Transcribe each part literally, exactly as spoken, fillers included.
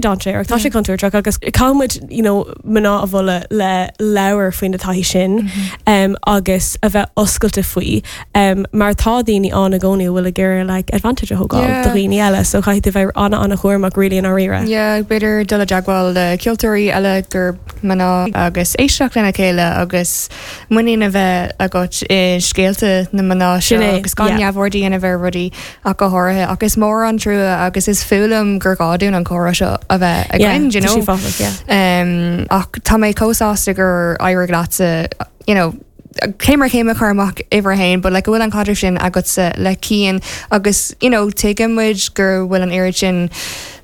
Dainséarach, tá sé contúirteach agus caithfimid you know, mná a mholadh le labhairt faoin taithí sin mm -hmm. um, agus a bheith oscailte faoi um, mar tá daoine ann i gcónaí a bhfuil ag iarraidh like, advantage a thógáil Yeah. do dhaoine eile, so caithfidh tú bheith ana ana chúramach really i ndáiríre. Yeah, b'fhéidir dul i dteagmháil le ceoltóirí eile gur mná agus éisteacht lena chéile agus muinín a bheith agat i scéalta na mná seo Sin é, agus gan yeah. neamhaird a dhéanamh ar rudaí ach go háirithe agus mór an trua agus is fulam gur gá dúinn an comhrá seo a bheith againn, you tá know. sé fáthach, yeah. Um, ach tá mé chomh sásta gur éirigh leatsa you know, céim ar chéim a chur amach uimhir a haon, but like go bhfuil an caidreamh sin agatsa le Cian agus you know, tuigeann muid gur bhfuil an oiread sin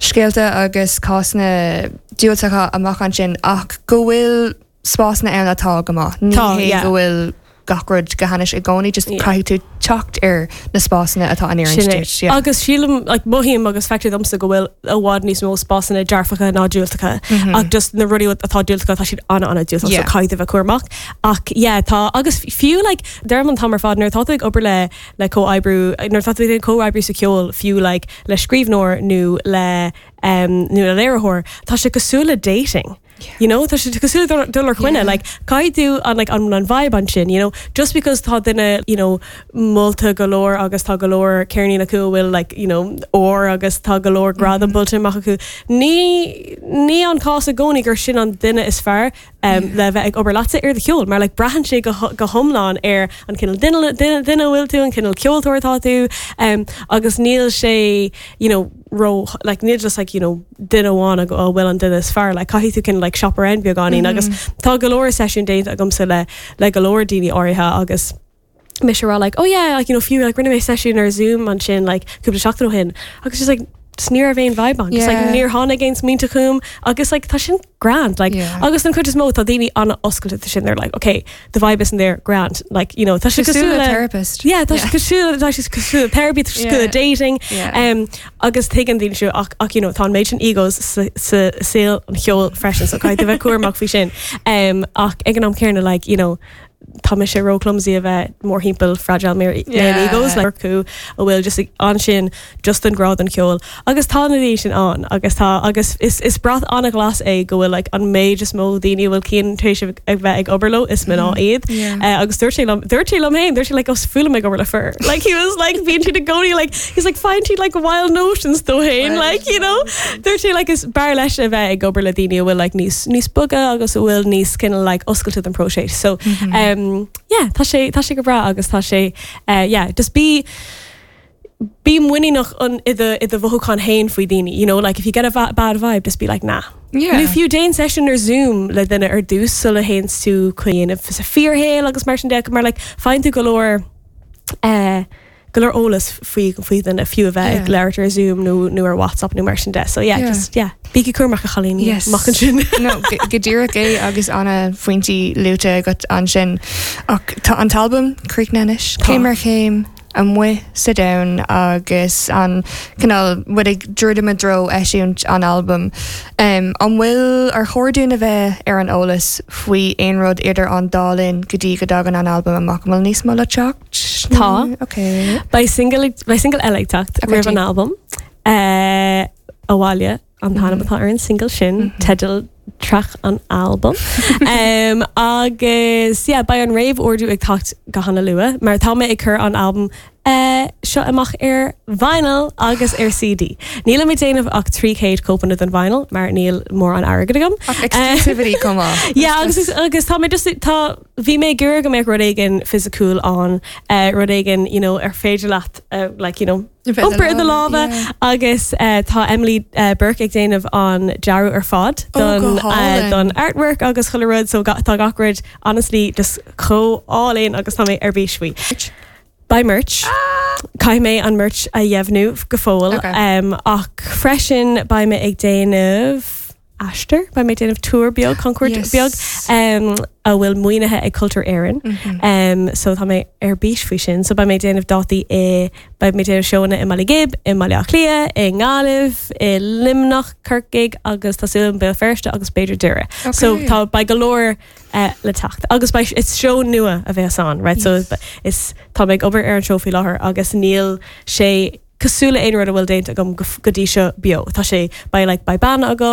scéalta agus cásanna diúltacha amach ansin ach go bhfuil spásanna ann atá go maith. Ní Tá, hé yeah. go bhfuil gach rud go hainnis i gcónaí, just Yeah. caithfidh tú teacht ar na spásanna atá an Sin é. duit. Yeah. Agus sílim like, mothaím agus feictear domsa go bhfuil i bhfad níos mó spásanna dearfacha ná diúltacha ach just na rudaí atá diúltacha tá siad ana ana diúltach Yeah. so caithfidh bheith cúramach ach yeah, tá agus fiú like, deirim an t-am ar fad nuair atá tú ag obair le le comhoibriú nuair atá tú ag comhoibriú sa cheol fiú like, le scríbhneoir nó le um, nó le léiritheoir tá sé cosúil le dating. You know, tá sé cosúil le dul ar choinne, Yeah. like caithfidh tú an like an an vibe ansin, you know, just because tá duine, you know, molta go leor agus tá go leor ceirnín acu a bhfuil like, you know, ór agus tá go leor gradam buailte amach acu. Ní ní an cás i gcónaí gur sin an duine is fearr um, le bheith ag obair leatsa ar do cheol, mar like, braitheann sé go, go hiomlán ar an cineál duine duine duine a bhfuil tú, an cineál ceoltóir atá tú, um, agus níl sé, you know, ró like níl just like you know duine amháin a a bhfuil an duine is fearr like caithfidh tú cineál like shop around beagáinín mm -hmm. agus tá go leor seisiún déanta agamsa le le go leor daoine áirithe agus mise rá like oh yeah like you know fiú like rinne mé seisiún ar Zoom ansin like cúpla seachtain ó shin agus just like just ní raibh aon vibe ann just like Yeah. níor tháinig aon smaointe chugam agus like tá sin grand like Yeah. agus an chuid is mó tá daoine an-oscailte sin they're like okay the vibe isn't there grand like you know tá sé Cosúil cosúil le le therapist. Yeah, tá sé cosúil tá sé cosúil le therapy tá sé cosúil le Yeah. dating Yeah. um, agus tuigeann daoine seo ach ach you know tá an méid sin egos sa sa saol an cheoil freisin so caithfidh bheith cúramach faoi sin um, ach ag an am céanna like you know tá mise ró clumsy a bheith mórthimpeall fragile mar Yeah. egos like acu a bhfuil just ansin just an grá don cheol agus tá na daoine sin ann agus tá agus is is brat an-ghlas é go bhfuil like an méid is mó daoine a bhfuil Cian tar éis ag bheith ag obair leo is mná iad Yeah. Uh, agus dúirt sé liom dúirt sé liom féin dúirt sé like is fuath liom ag obair le fir like he was like bíonn siad i gcónaí like he's like find siad like wild notions dó féin Wild like you know dúirt sé like is fearr leis a bheith ag obair le daoine a bhfuil like níos níos boga agus a bhfuil níos cineál like oscailte don próiseas so um yeah tá sé tá sé go breá agus tá sé uh, yeah just be bí muiníneach an i do i do mhothúchán féin faoi daoine you know like if you get a va bad vibe just be like nah Yeah. Nó fiú déan session ar Zoom le duine ar dtús sula théann tú chuig sa fíorshaol agus mar sin de mar like faigheann tú go leor uh, go leor eolas faoi faoi duine fiú a bheith ag Yeah. labhairt ar Zoom nó nó ar WhatsApp nó mar sin de so yeah, Yeah. just yeah bígí cúramach a chailíní Yes. amach ansin no go go díreach é agus an-phointí luaite agat ansin ach tá an t-albam críochnaithe anois Tá. céim ar chéim amuigh sa domhan agus an cineál muid ag druidim i dtreo eisiúint an albam. Um, an bhfuil ar chóir dúinn a bheith ar an eolas faoi aon rud idir an dá linn go dtí go dtagann an albam amach an bhfuil níos mó le teacht? Tá. Ok. Beidh single beidh single eile ag teacht Okay, roimh an albam uh, Abhaile an t-ainm atá ar an single sin teideal traic an albam um, agus yeah, beidh an réamhordú ag teacht go han-luath mar tá mé ag cur an albam uh, seo amach ar vinyl agus ar CD. Níl mé déanamh ach trí chéad cóipeanna den vinyl mar níl mórán airgid agam. Ach exclusivity come on. Yeah, agus agus tá mé just tá bhí mé gur go mbeadh rud éigin fisiciúil ann uh, rud éigin you know, ar féidir leat uh, like, you know, iompar i do lámha agus uh, tá Emily uh, Burke ag déanamh an dearadh ar fad Oh, don, go uh, hálainn. don artwork agus chuile rud so ga- tá gach rud honestly just chomh hálainn agus tá mé ar bís faoi. Beidh merch. Caithfidh mé an merch a dheimhniú go fóill Okay. um, ach freisin beidh mé ag déanamh aistear beidh mé ag déanamh tour beag camchuairt Yes. beag um, a bhfuil maoinithe ag Cultúr Éireann. Mhm. Um, so tá mé ar bís faoi sin, so beidh mé ag déanamh dátaí i beidh mé ag déanamh seónna i mBaile Ghib, i mBaile Átha Cliath, i nGaillimh, i Luimneach, Corcaigh agus tá súil Béal Feirste agus b'fhéidir Doire. So Okay. tá beidh go leor uh, le teacht. Agus beidh is seó nua a bheas ann, right? So Yes. is tá mé ag obair ar an seó faoi láthair agus níl sé cosúil le aon rud a bhfuil déanta agam go go dtí seo beo. Tá sé beidh like beidh banna agam,